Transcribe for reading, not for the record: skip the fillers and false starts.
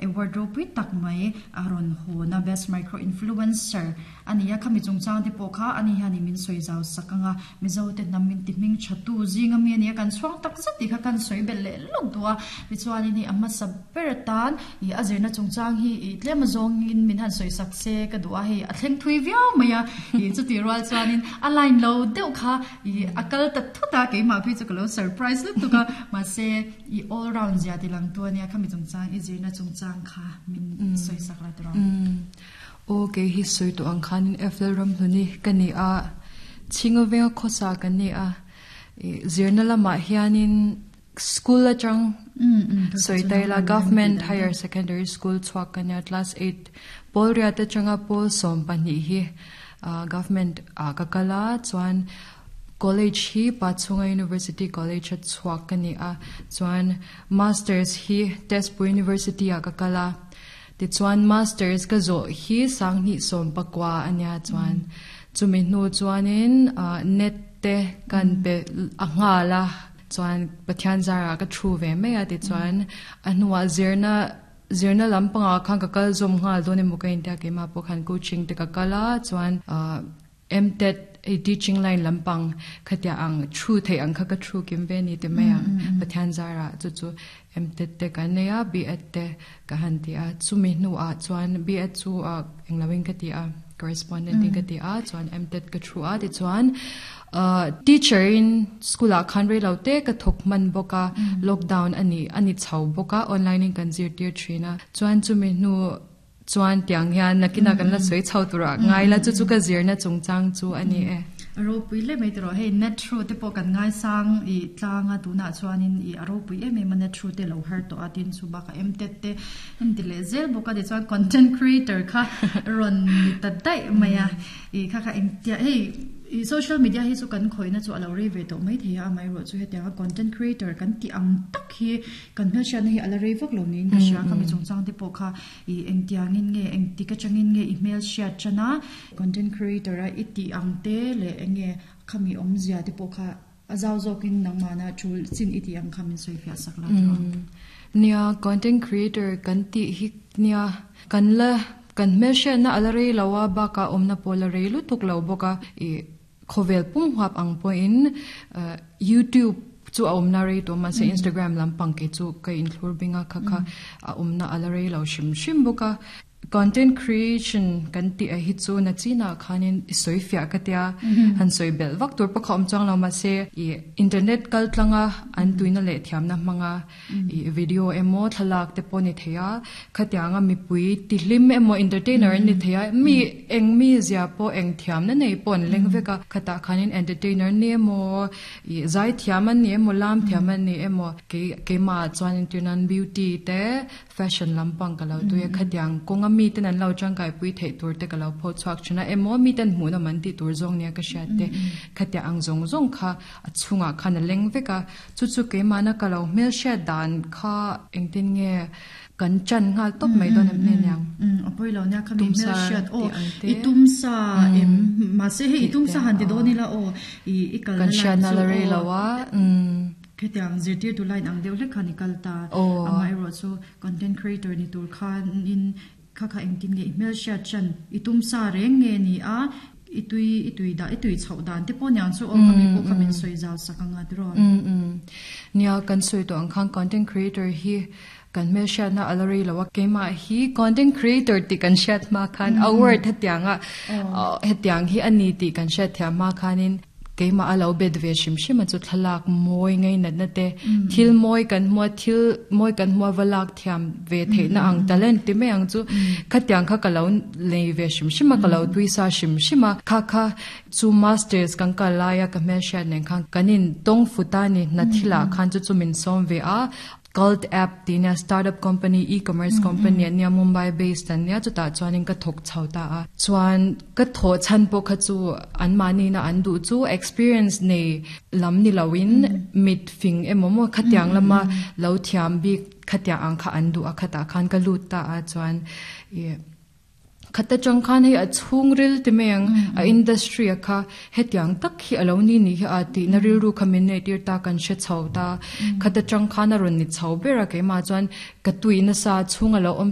Award ropui tak mai a rawn hawn a, Best Micro Influencer a ni a, khami chungchang te pawh kha ani hianin min sawi zau sak ang a, Mizo te hnam min ti hming tha tu zing ami a ni a, kan chhuang tak zet tih kha kan sawi belh leh lawk duh a, tichuanin hei a hmasa ber atan ih a zirna chungchang hi ih tlem azawngin min han sawi sak se ka duh a, hei a thleng thui viau mai a, ih chutih rual chuanin a line lo deuh kha ih a kal ta thut a, keimah phei chu ka lo surprise lutuk a, mahse I all round zia ti lang tu ania khami chungchang i zirna chungchang kha min sawi sak la tiraw. Aw kei hi sawi tawh ang khanin FL Ramhluni ka ni a, Chhinga venga khawsa ka ni a, i zirna lamah hianin school atang sawi ta ila Government Higher Secondary School chhuak ka nia class 8 pawl riat atanga pawl 12 hi Government ah ka kal a chuan College hi Pachhunga University College a chhuak ka ni a, chuan Masters hi Tezpur University ah ka kal a, tichuan Masters ka zawh hi Sanghnih 19 a nia chuan chumi hnu chuanin net te kan pe a nghal a, chuan Pathian zarah ka thu ve mai a tichuan a hnuah zirna zirna lampangah khan ka kal zawm nghal dawn emaw ka intia keimah pawh khan coaching te ka kal a chuan MTET hei teaching line lampang khatia ang thu theih ang kha ka thu kim ve ni ti mai ang Pathian zarah chu chu MTET te kan nei a B.Ed te ka han ti a chumi hnuah chuan B.Ed chu ah englo in ka ti a correspondent in ka ti a chuan MTET ka thu a tichuan ah teacher in school ah khan reilo te ka thawk hman bawk a lockdown a ni a ni chho bawk a online in kan zirtir thin a chuan chumi hnu Chuan tiang hian nakinah kan la sawi chho tur ah ngai la chu chu ka zirna chungchang chu a ni e. A ropui hle mai tiraw hei net through te pawh kan ngaisang i tlang a tunah chuanin i a ropui em em a net through te lo har tawh a tin chu bakah mtet te en ti leh zel bawk a tichuan content creator kha rawn ni ta daih mai a i kha kha engtia hei I social media hi chu kan khawihna chu a lo rei ve tawh mai thei a, amaherawhchu hetianga content creator kan tih ang tak hi kan hmelhriatna hi a la rei vak lo niin ka hria. Khami chungchang te pawh kha i engtiangin nge, engtik atangin nge i hmelhriat tan a, content creator a i tih ang te leh enge khami awmzia te pawh kha a zau zawkin nangmahna tul chin i tih ang kha min sawi fiah sak la tawh ang. Nia, content creator kan tih hi nia kan la Kan hmelhriatna a la rei lo a, bakah awmna pawh a la rei lutuk lo bawk a, ih khawvel pum huap ang pawhin YouTube chu a awmna rei tawh mahse Instagram lampang kei chu ka inthlur bing a, kha kha a awmna a la rei lo hrim hrim bawk a. Content creation kan tih ah hi chu na chinah khanin i sawi fiah ka tia, han sawi belh vak tur pawh kha awm chuang lo mahse ih internet kal tlanga an tuina leh thiamna hmanga I video emaw thlalak te pawh ni thei a, khatianga mipui tihlim emaw entertainer an ni thei a, mi eng mi zia pawh eng thiamna nei pawh an leng vek a, khatah khanin entertainer ni emaw ih zai thiam an ni emaw lam thiam an ni emaw kei keimah chuan entir nan beauty te fashion lampang ka lo tui a, khatiang kawnga miten an lo tangkaipui theih tur te ka lo pho chhuak thin a, emaw miten hmuhnawm an tih tur zawng nia ka hriat te khatiang ang zawng zawng kha a chhungah khan a leng vek a. Chu chu keimahna ka lo hmelhriat dan kha engtin nge kan chan nghal tawp mai dawn em hnen ang? A pawi lo nia khami hmelhriat aw i tumsa em mahse hei i tumsa han ti dawn ila aw i i kalna line chu aw. Kan hriatna la rei lo a. Khetiang zirtirtu line ang deuh hlek khan i kal ta. Amaherawh chu content creator ni tur khanin Kha kha engtin nge i hmelhriat chan i tumsa reng nge ni a, i tui i tui dah i tui chhoh dan te pawh niang chu aw kha mi pawh kha min sawi zau sak anga tiraw. Nia kan sawi tawh ang khan content creator hi kan hmelhriatna a la rei lo a, keimah hi content creator tih kan hriat hma khan a word hetianga hetiang hi a ni tih kan hriat thiam hma khanin Keimah a lo bet ve hrim hrim a chu thlalak mawi ngainatna te, thil mawi kan hmua, thil mawi kan hmua va lak thiam ve theihna ang talent ti mai ang chu khatiang kha ka lo nei ve hrim hrim a, ka lo tuisa hrim hrim a. Kha kha chu masters kan kal laia ka hmelhriat nen khan kan in tawng fut a ni, hna thilah khan chu chu min sawm ve a. Cult app tih nia startup company e-commerce company an nia Mumbai based an nia chutah chuanin ka thawk chho ta a chuan ka thawh chhan pawh kha chu an mahni na an duh chu experience nei lam ni loin mit fing emaw maw khatiang lama lo thiam bik khatiang ang kha an duh a khatah khan ka lut ta a chuan ih Khat atang khan hei a chhungril ti mai ang, a industry a kha hetiang tak hi a lo ni nih hi a tihna rilru kha min neih tir ta kan hre chho ta. Khat atang khan a rawn ni chho ber a keimah chuan ka tui nasa chhung a lo awm.